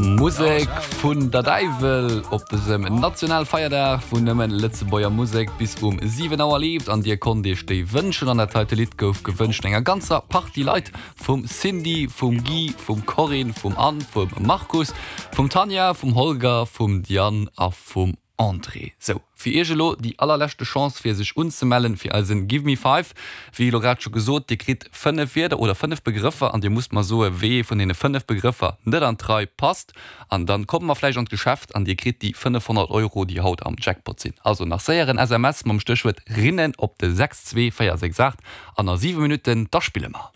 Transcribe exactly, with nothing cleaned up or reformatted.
Musek vun der Däiwel op dësem Nationalfeierdag, wou nëmmen Lëtzebuerger Musek bis um siwen Auer leeft an dir konnt iech déi wënschen an dat heite Lidd gouf gewënscht enger ganzer Partie Leit, vum Cindy, vum Guy, vum Corinne, vum Anne, vum Markus, vum Tanja, vum Holger, vum Diane a vum André. Sou, fir iech elo déi allerleschte Chance fir sech unzemellen fir eisen Give Me Five. Wéi elo grad scho gesot, dir kritt fënnef Wierder oder fënnef Begrëffer an dir musst mer soe wéi ee vun deene fënnef Begrëffer net an d'Rei passt an dann komme mer vläicht an d'Geschäft an dir kritt déi fënnefhonnert Euro déi haut am Jackpot sinn. Also nach séier en S M S mam Stéchwuert Rinnen op de sechs zwee véier sechs aacht an a siwe Minutten da spille mer.